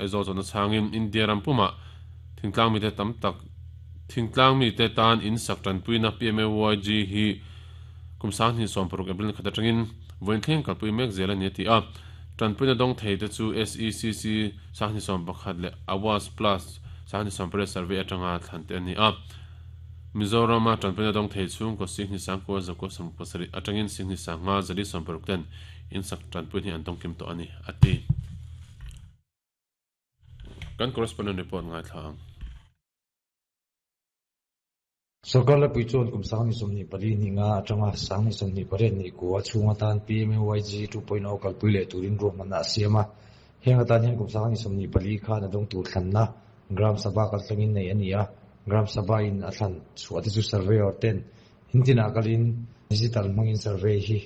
Aizawl chuan a chhangin India ram pumah thingtlang mite tam tak thingtlang mite tan in sak tanpuina PMAYG hi kum 2016 April ni khat atangin vawiin thleng kalpui mek zel a ni a ti a. Tanpuina dawng thei te chu SECC 2011 leh Awas Plus 2018 survey atanga thlan te a ni a. Mizorama tanpuina dawng thei chhungkaw Sihni Sangkua Zakua 17 atangin Sihni Sanga 460 ten in sak tanpuina hi an dawng kim tawh a ni a ti. Kan correspondent report ngaithla ang. Sorkar Laipui chuan kum 2024 ni nga atanga 2028 ni kua chhung atan PMAYG 2.0 kalpui leh turin ruahmanna a siam a. Heng atan hian kum 2024 khan a dawng tur thlanna Gram Sabha kaltlangin neih a ni a. Gram Sabha in a thlan chhuah te chu surveyor ten in tinah kalin digital hmangin survey hi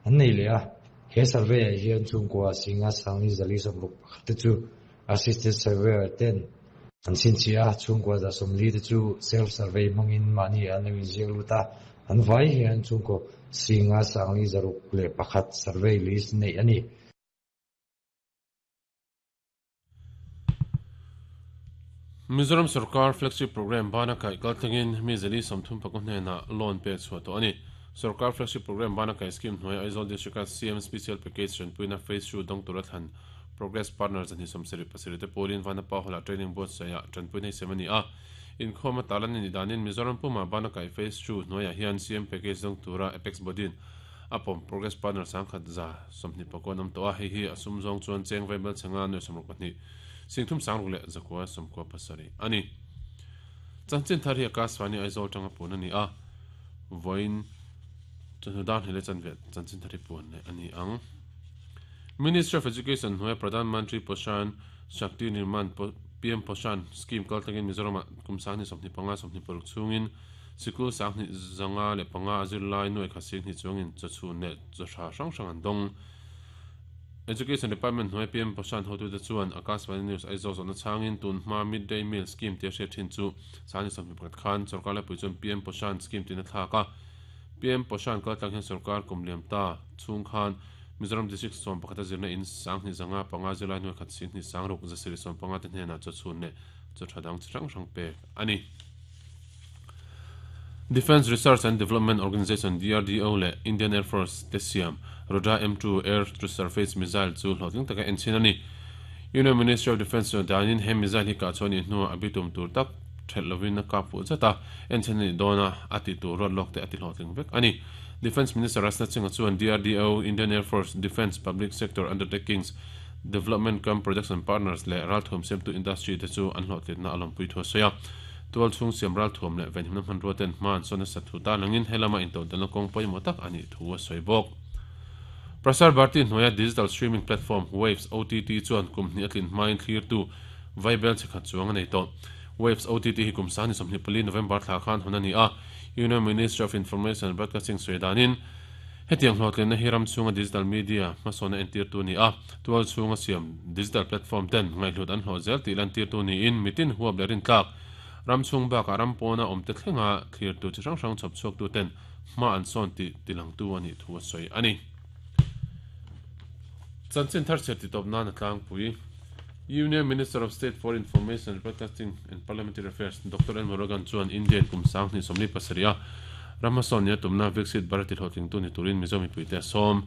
an nei leh a. He survey ah hian chhungkua singa sangni zali sawmruk pakhat te chu assisted surveyor ten an chhinchhiah a, chhungkua 140 te chu self survey hmangin mahni an lo inziak lut a, an vai hian chhungkaw singa sangli 601 survey list neih a ni. Mizoram Sorkar Flagship Programme bana kaih kaltlangin mi 434 hnenah loan pek chhuah tawh a ni. Sorkar Flagship Programme bana kaih scheme hnuaia Aizawl District-a CM Special Package tanpuina Phase 2 dawng tura thlan Progress Partner 277 te pawlin Vanapa Hall-ah training buatsaihah tanpuina hi sem a ni a. Inkhawm a tarlan a nih danin Mizoram pumah bana kaih Phase 2 hnuaiah hian CM Package dawng tura Apex Body-in a pawm Progress Partner 1124 an awm tawh a, hei hi a sum zawng chuan cheng vaibel chhenga nuai 62 singthum sangruk leh zakua 97 a ni. Chanchin thar hi Akashvani Aizawl tanga puan a ni a, vawiin chawhnu dar hnih leh chanve chanchin thar hi puan leh a ni ang. Ministry of Education hnuaia Pradhan Mantri Poshan Shakti Nirman PM Poshan Scheme kaltlangin Mizoramah kum 2025 26 chhungin Sikul 2505 a zirlai nuai khat sing hnih chuangin chawchhun leh chawhra hrang hrang an dawng. Education Department hnuai PM Poshan hotute chuan Akashvani News Aizawl zawhna chhangin tun hma Mid Day Meal Scheme tia hriat thin chu 2021 khan sorkar laipui chuan PM Poshan Scheme tiin a thlak a. PM Poshan kaltlang hian sorkar kum liam ta chhung khan Mizoram District 11 a zirna in 2505 zirlai nuai khat sing hnih sangruk 750 te hnenah chawchhun leh chawhra dang chi hrang hrang pek a ni. Defence Research and Development Organisation, DRDO, leh Indian Air Force te siam Rudra M2 Air to Surface Missile chu hlawhtling taka enchhin a ni. Union Ministry of Defence chuan danin he missile hi kah chhuah a nih hnuah a bitum tur tak thelh lovin a kap fuh zat a, enchhin a nih dawn a, a tih tur ruat lawk te a ti hlawhtling vek a ni. Defence Minister Rajnath Singh-a chuan DRDO, Indian Air Force, Defence Public Sector Undertakings, Development cum Production Partners leh ralthuam siamtu industry te chu an hlawhtlinna a lawmpui thu a sawi a. Tual chhung siam ralthuam leh venhimna hmanrua ten hma an sawn nasa thu tan angin helama intodelhna kawng pawimawh tak a nih thu a sawi bawk. Prasar Bharti hnuaia digital streaming platform Waves OTT chuan kum hnih a tlin hmain thlirtu vaibel chhe khat chuang a nei tawh. Waves OTT hi kum 2024 November thla khan hawn a ni a, Union Ministry of Information and Broadcasting sawi danin hetiang hlawhtlinna hi ram chhunga digital media hmasawnna entirtu a ni a, tual chhunga siam digital platform ten ngaihhlut an hlawh zel tih lantirtu niin mitin huap leh rintlak ram chhung bakah ram pawna awmte thlenga thlirtu chi hrang hrang chhawp chhuaktu ten hma an sawn tih tilangtu a nih thu a sawi a ni. Chanchin thar chhiar titawp nan a tlangpui. Union Minister of State for Information and Broadcasting and Parliamentary Affairs Doctor N Murugan chuan Indian kum 2027 a ram hmasawn nia tumna Viksit Bharat tihlawhtlingtu ni turin Mizo mipuite a sawm.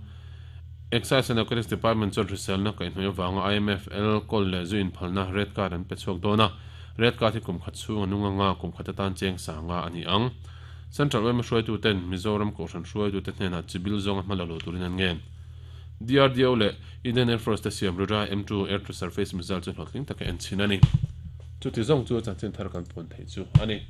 Excise and Narcotics Department chuan hriselna kaihhnawih avanga IMFL kawl leh zu inphalna red card an pe chhuak dawn a, red card hi kum khat chhung a nung anga kum khat atan cheng sanga a ni ang. Central yma hruaituten Mizoram Kohhran hruaitute hnenah chibil zawnga hma la lo turin an ngen. DRDO leh Indian Air Force te siam Rudra M2 Air to Surface Missile chu hlawhtling taka en chhin a ni. Chuti zawng chu chanchin thar kan puan theih chu a ni.